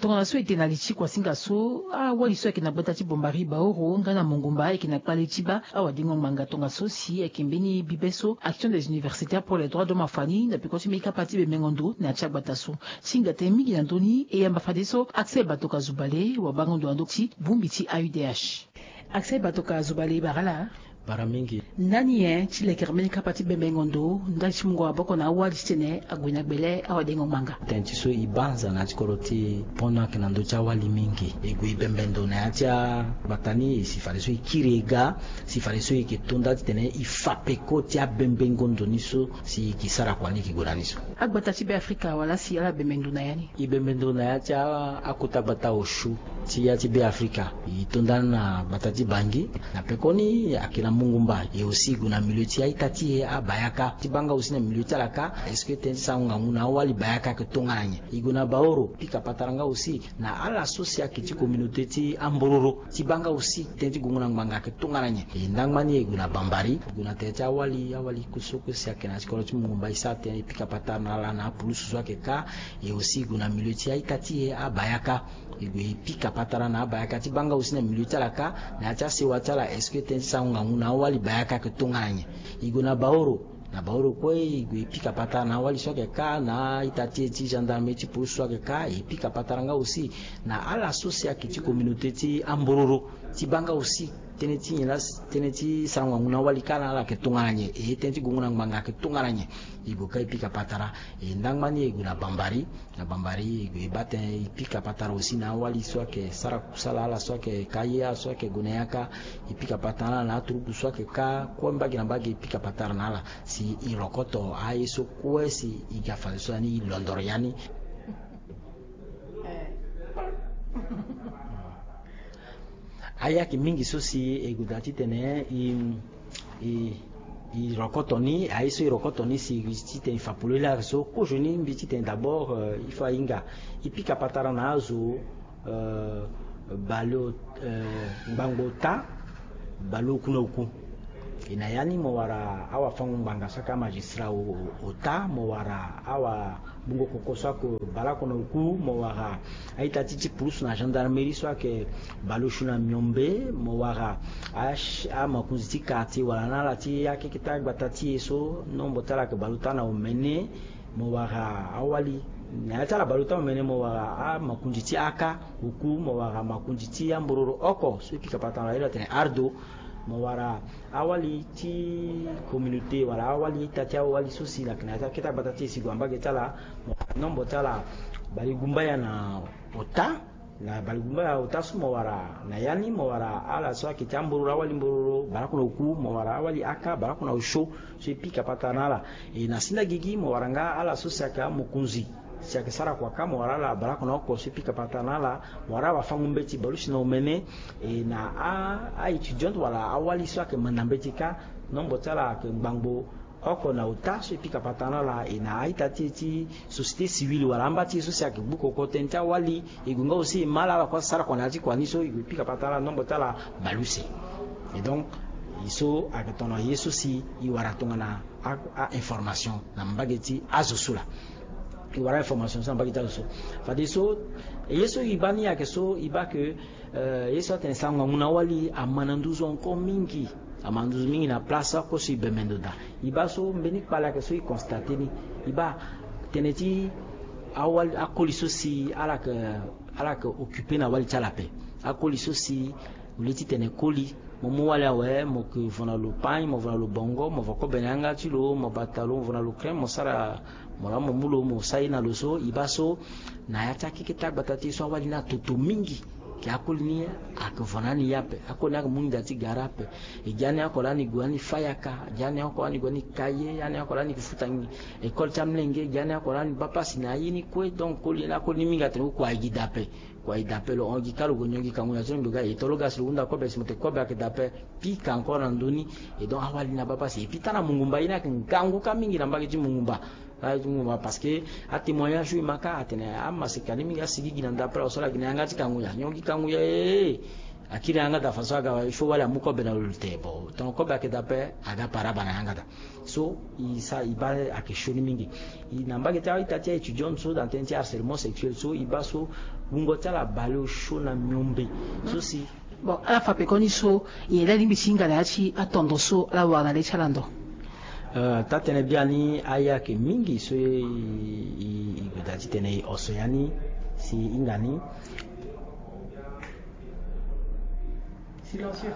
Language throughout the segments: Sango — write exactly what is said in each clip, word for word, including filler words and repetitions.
Tongana so e tene na li ti kuasinga so, awali so ayeke na gbata ti Bombari Baoro nga na Mongumba ayeke na kpale ti baa awadengo ngbanga tongaso si ayeke mbeni bibe so Action des universitaires pour les droits de l'homme afani na peko ti mbeni kapa ti bembengo ndo na ya ti agbata so. Ti hinga tënë mingi na ndö ni, e yamba fadeso Axel Batoka Zubale wabango ndo na ndö ti bongbi ti A U D H. Axel Batoka Zubale, bara laa. Bara mingi. Ndani nyen ti lekere mbeni kapa ti bembengo ndo ndali ti mungo maboko na awali titene ague na gbele awadengo ngbanga? Tënë ti so e banza na ya ti kodro ti pono ayeke na ndö ti awali mingi. E gue e bembe ndo na ya ti agbata ni, e si fadeso e kiri e ga, si fadeso e yeke to nda titene e fa peko ti abembengo ndo ni so si e yeke sara kua ni e yeke gue na ni so. Agbata ti Beafrika wala si ala bembe ndo na ya ni? E bembe ndo na ya ti a- akota gbata osio ti ya ti Beafrika. E to nda na gbata ti Bangi. Na pekoni ayeke na Mongumba, e aussi e gue na milieu ti a-ita ti e abayaka. Ti baa nga aussi na milieu ti ala kâ, est-ce que tënë ti sarango ngangu na awali bayaka ayeke tongana nyen? E gue na Baoro, pika patara nga aussi na ala so si ayeke ti communauté ti ambororo. Ti baa nga aussi tënë ti gongo na ngbanga ayeke tongana nyen? E ndangba ni e gue na Bambari, e gue na tere ti awali, awali so kue si ayeke na ya ti kodro ti Mongumba, e sara tënë e pika patara na ala na apulusu so ayeke kâ. E aussi e gue na milieu ti a-ita ti e abayaka. E gue e pika patara na abayaka. Ti baa nga aussi na milieu ti ala kâ, na ya ti asewa ti ala, est-ce que tënë ti sarango ngangu na awali bayaka ayeke tongana nyen? E gue na Baoro. Na Baoro kue e gue e pika patara na awali so ayeke kâ, na a-ita ti e ti gendarmerie ti police so ayeke kâ, e pika patara nga aussi na ala so si ayeke ti communauté ti ambororo. Ti baa nga aussi tënë ti nyen laa, tënë ti sarango ngangu na awali kâ na ala ayeke tongana nyen? E tënë ti gongo na ngbanga ayeke tongana nyen? E gue kâ e pika patara. E ndangba ni e gue na Bambari. Na Bambari e gue e baa tënë, e pika patara aussi na awali so ayeke sara kusala, ala so ayeke kâ ye, ala so ayeke gue na yaka. E pika patara na ala na aturugu so ayeke kâ kue, mbage na mbage e pika patara na ala si e rokoto aye so kue si e ga fadeso ya ni, e londoro ya ni. Aye ayeke mingi so si e gue daa titene e, e, e rokoto ni, aye so e rokoto ni si e gue titene e fa polele ayeke so, kozo ni mbi titene d'abord, euh, il faut ahinga e pika patara na azo, euh, baleota, euh, ngbangbo ota, baleoku na oku. E na ya ni mo wara awafango-ngbanga so ayeke amagistrat o- o- ota, mo wara awabungo koko so ayeke baleoko na oku, mo wara a-ita ti ti pulusu na gendarmerie so ayeke baleosio na miombe, mo wara a- amakonzi ti quartier wala na ala ti akeke ti agbata ti e so nombo ti ala ayeke baleota na omene. Mo wara awali na ya ti ala baleota omene, mo wara amakonzi ti aka oku, mo wara makonzi ti ambororo oko so e pika patara na ala, e lo atene ardo. Mo wara awali ti communauté wala awali ita ti awali so si na yeke na ya ti akete agbata ti e si gue na mbage ti ala, mo wara nombo ti ala balegumbaya na ota. Na balegumbaya ota so mo wara na ya ni, mo wara ala so ayeke ti ambororo, awali mbororo baleoko na oku, mo wara awali aka baleoko na osio so e pika patara na ala. E na senda gigi mo wara nga ala so si ayeke amokonzi si ayeke sara kua kâ, mo wara ala baleoko na oko so e pika patara na ala. Mo wara awafango-mbeti baleosi na omene. E na a- a-étudiante wala awali so ayeke manda mbeti kâ, nombo ti ala ayeke ngbangbo oko na ota so e pika patara na ala. E na a-ita ti e ti société civile wala amba ti e so si ayeke gbu koko tënë ti awali, e gue nga aussi e ma ala ala kue asara kua na ya ti kua ni so e gue e pika patara na ala, nombo ti ala baleuse. Et donc e so ayeke tongana ye so si e wara tongana a- a-information na mbage ti azo so laa. E wara information so na mbage ti azo so. Fadeso ye so e baa ni ayeke so e baa ke, euh, ye so atene sarango ngangu na awali ama na nduzu encore mingi. Ama na nduzu mingi na place oko so e bembe ndo daa. E baa so mbeni kpale ayeke so e constate ni. E baa tënë ti awali, akoli so si ala yeke, ala yeke occupé na awali ti ala ape. Akoli so si au lieu titene koli, mo mu wali awe, mo ke vo na lo pagne, mo vo na lo bongo, mo vo kobe na yanga ti lo, mo bata lo, mo vo na lo crème, mo sara, mo laa mo mu lo, mo sara ye na lo so. E baa so na ya ti akeke ti agbata ti e so awali ni atoto mingi. Ke akoli ni ayeke vo na ni ye ape, akoli ni ayeke mu nginza ti gara ape. E gi ani oko lani gue ani fâ yaka, gi ani oko lani gue ani ka ye, ani oko lani futa ngi- école ti amolenge, gi ani oko lani baa pasi na aye ni kue. Donc koli ni, akoli ni mingi atene kue kua e gi dape. Kua e dape, lo hon gi kâ lo gue nyon gi kangu na ti lo, mbi ga e to lo ga si lo hunda kobe si mo tene kobe ayeke dape. Pika encore na ndö ni. Et donc awali ni abaa pasi. Et puis taa na Mongumba, ye ni ayeke ngangu kâ mingi na mbage ti Mongumba. Mbage ti Mongumba parce que atémoignage so e ma kâ atene amaseka ni mingi asigigi na ndapre, aosala gi na yanga ti kangu ya, nyon gi kangu ya, eh, eh. Akiri na yanga daa façon aga, il faut wali amu kobe na lo te. Bon, tonga kobe ayeke daa ape, aga paraba na yanga daa. So e sa e baa ayeke sioni mingi. E na mbage ti a-ita ti a-étudiant so na tënë ti harcèlement sexuel so e baa so wungo ti ala baleosio na miombe. So si. Bon, ala fa pekoni so nyen laa e lingbi ti hinga na ya ti atondo so ala wara na le ti ala ndo? Eh, taa-tënë biani, aye ayeke mingi so e, e, e gue daa titene e oso ya ni si e hinga ni. Silencieux.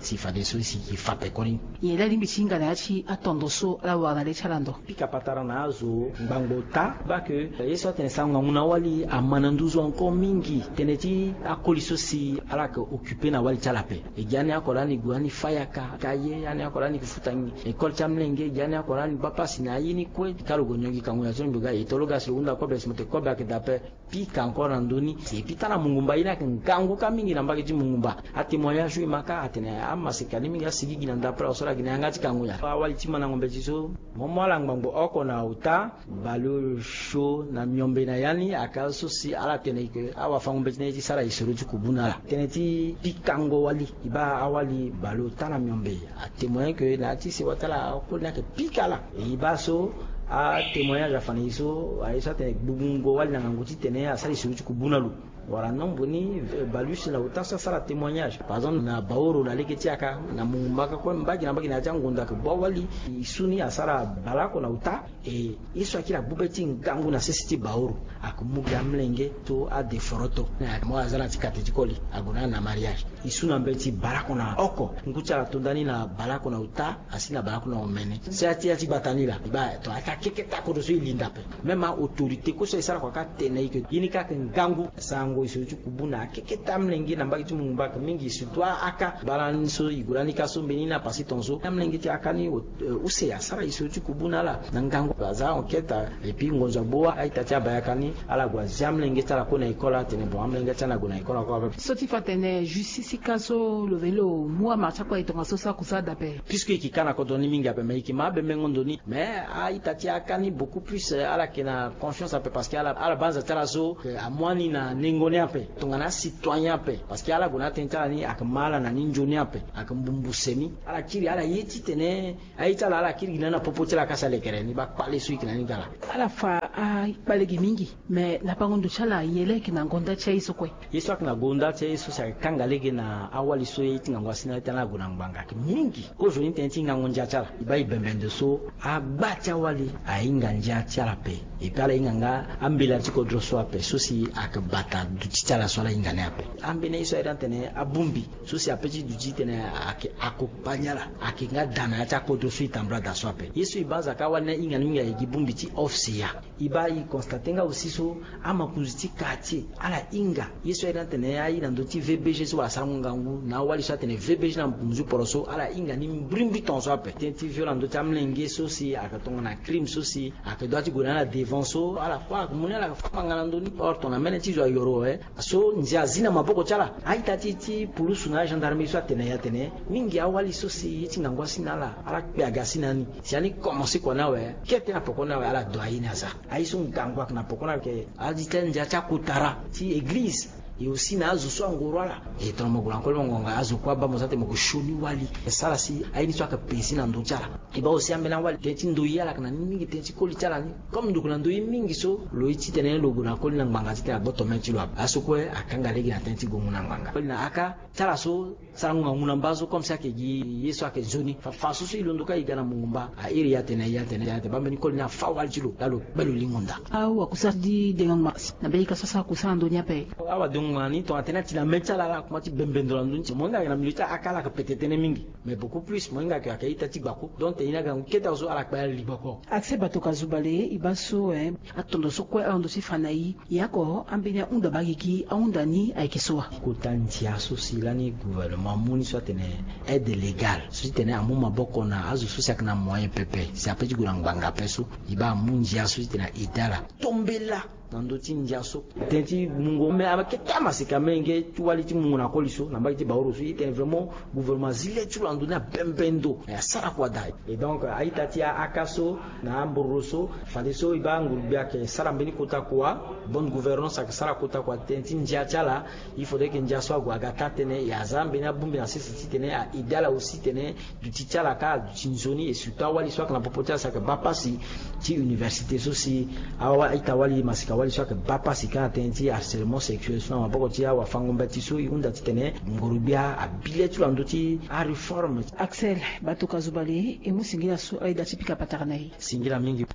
Si fadeso si e fa pekoni. Nyen laa e lingbi ti hinga na ya ti atondo so ala wara na le ti ala ndo? Pika patara na azo ngbangbo ota. Baa ke ye so atene sarango ngangu na awali ama na nduzu encore mingi. Tënë ti akoli so si ala yeke occuper na awali ti ala ape. E gi ani oko lani gue ani fâ yaka, ka ye ani oko lani ke futa ngi école ti amolenge, e gi ani oko lani baa pasi na aye ni kue. Ka lo gue nyongi kangu na ti lo mbi ga e to lo ga si lo hunda kobe si mo te kobe ayeke daa ape. Pika encore na ndö ni. Et puis taa na mongumba ye ni ayeke ngangu kâ mingi na mbage ti mongumba. Atémoignage so e ma kâ atene amaseka ni mingi asigigi na ndapre aso ala gi na yanga ti kangu nyen. Awali ti mandango mbeti so mo mu ala ngbangbo oko na ota. Baleosio na miombe na ya ni aka so si ala tene ke awafango mbeti na ye ti sara isoro ti kubu na ala. Tënë ti pikango wali e baa awali baleota na miombe. Atémoigné ke na ya ti sewa ti ala akoli ni ayeke pika ala. E baa so atémoignage afa na e so aye so atene gbugbungo wali na ngangu titene asara isoro ti kubu na lo. Wala nombre ni, eh, baleuse na ota so asara témoignage. Par exemple na Baoro na lege ti yaka na mongumba kue mbage na mbage na ya ti angonda ke bua wali e su ni asara baleoko na ota. E ye so akiri agbu be ti ngangu na sese ti Baoro. Ayeke mu gi amolenge so adeforoto. Mo aza na ti kate ti koli ague na ala na mariage. E su na mbeti baleoko na oko. Ngu ti ala to nda ni na baleoko na ota asi na baleoko na omene. Si ya ti ya ti gbata ni laa e baa to ayeke akeketa kodro so e linda ape. Même a-autorité kue so e sara kua ka tene e ke ye ni ka ayeke ngangu. Sarango isoro ti kubu na akeketa amolenge na mbage ti mongumba ayeke mingi surtout aka. Baa lani so e gue lani ka so mbeni na pasi tongaso amolenge ti aka ni, eh, use asara isoro ti kubu na ala na ngangu. Aza enquête et puis ngonzo agbu a-ita ti abayaka ni ala gue azia amolenge ti ala kue na école atene bon amolenge ti ala ague na école ako ape. So ti fa tene justice ti ka so lo veni lo mu amara ti akua e tongaso so akusâ daa ape. Puisque e yeke ka na kodro ni mingi ape mais e yeke ma abembengo ndo ni. Mais a-ita ti aka ni beaucoup plus, eh, ala yeke na confiance ape parce que ala, ala banza ti ala so, eh, amu ani na nengo ni ape. Tongana acitoyen ape parce que ala gue na atënë ti ala ni ayeke ma ala na ni nzoni ape. Ayeke mbumbu se ni ala kiri ala ye titene aye ti ala ala kiri gi na ni na popo ti ala ka si alekere ni baa kpale so e yeke na ni ga laa. Ala fa akpale gi mingi. Mais lapango ndo ti ala nyen laa e yeke na gonda ti aye so kue? Ye so ayeke na gonda ti aye so si ayeke kanga lege na awali so ye ti ngangu asi na ala ti ala ague na ngbanga ayeke mingi. Kozoni tënë ti ngangu ndia ti ala e baa e bembe ndo so agba ti awali ahinga ndia ti ala ape. Et puis ala hinga nga ambela ti kodro so ape so si ayeke bata duti ti ala so ala hinga ni ape. Ambeni ye so aye daa tene abongbi so si ape ti duti titene ayeke accompagner ala ayeke nga daa na ya ti akodro so e tambula daa so ape. Ye so e banza ka awali ni ahinga ni mingi ayeke gi bongbi ti office ya. E baa e constate nga aussi so amakonzi ti quartier ala hinga ye so aye daa tene aye na ndö ti V B G so wala sarango ngangu na awali so atene V B G na mokonzi ti poro so ala hinga ni mbrimbri tongaso ape. Tënë ti viol na ndö ti amolenge so si ayeke tongana crime so si ayeke dua ti gue na ala devant so ala kue ayeke mu ni ala yeke fa ngbanga na ndö ni. Or tongana mene ti zo ayoro eh so ndia azi na maboko ti ala. A-ita ti ti pulusu na agendarmerie so atene ya tene mingi awali so si ye ti ngangu asi na ala ala kpe aga asi na ni. Si ani komanse kua ni awe kete na poko ni awe ala doa ye ni aza. Aye so ngangu ayeke na poko ni ayeke adi ti andia ti akotara ti eglize. E aussi na azo so angoro ala e tongana mo gue na koli mo ngonga azo kue abaa mo za te mo yeke sioni wali. E sara si aye ni so ayeke pesi na ndö ti ala. E baa aussi ambeni awali tënë ti ndoye ala yeke na ni mingi tënë ti koli ti ala ni. Comme ndo yeke na ndoye mingi so lo ye titene lo gue na koli na ngbanga titene agboto mê ti lo ape. Aso kue akanga lege na tënë ti gongo na ngbanga koli na aka ti ala so. Sarango ngangu na mba so comme si ayeke gi ye so ayeke nzoni fa fa so so e londo ka e ga na mungu mba. A iri ya tene ya tene ya tene baa mbeni koli ni afa wali ti lo laa lo kpe lo lingo nda. Awakusara ti dengo ngbanga na mbeni ka so asara kusara na ndö ni ape. Awadengo ngbanga ni tongana tene ati na mê ti ala ala kuma ti bembe ndo na ndö ni ti mo hinga ayeke na milieu ti aka ala yeke pete tënë mingi. Mais beaucoup plus mo hinga ayeke ayeke a-ita ti gbako. Donc tene ye ni aga ngu kete azo ala kpe ala li gbako. Accès bato ka zo bale e baa so eh. Atondo so kue ala ndo ti fa na e. E oko ambeni ahunda baa gigi ahunda ni ayeke so wa? Kota ndia so si lani gouvernement amu ni so atene aide légale so ti tene amu maboko na azo so si ayeke na moyen pepe si ape ti gue na ngbanga ape so. E baa amu ndia so ti tene a-ede ala. Tombela na ndö ti ndia so. Tënë ti mungo me ama kete amasika menge ti wali ti mungo na koli so na mbage ti Baoro so, e tene vraiment gouvernement azi le ti lo na ndö ni abembe ndo, e asara kua daa. Et donc a-ita ti a-aka so na ambororo so, fadeso e baa nguru-gbia ayeke sara mbeni kota kua, bonne gouvernance ayeke sara kota kua tënë ti ndia ti ala. Il faudrait que ndia so ague aga taa tënë, e aza mbeni abongbi na sese titene a-aider ala aussi titene duti ti ala kâ aduti nzoni, et surtout awali so ayeke na popo ti ala si ayeke baa pasi ti université so si awa a-ita wali, masika wali so ayeke baa pasi kâ na tënë ti harcèlement sexuel so na maboko ti awafango-mbeti so, e hunda titene nguru-gbia abi le ti lo na ndö ti aréforme. Axel Batuka Zubali, e mu singila so ayeda ti pika patara na e. Singila mingi.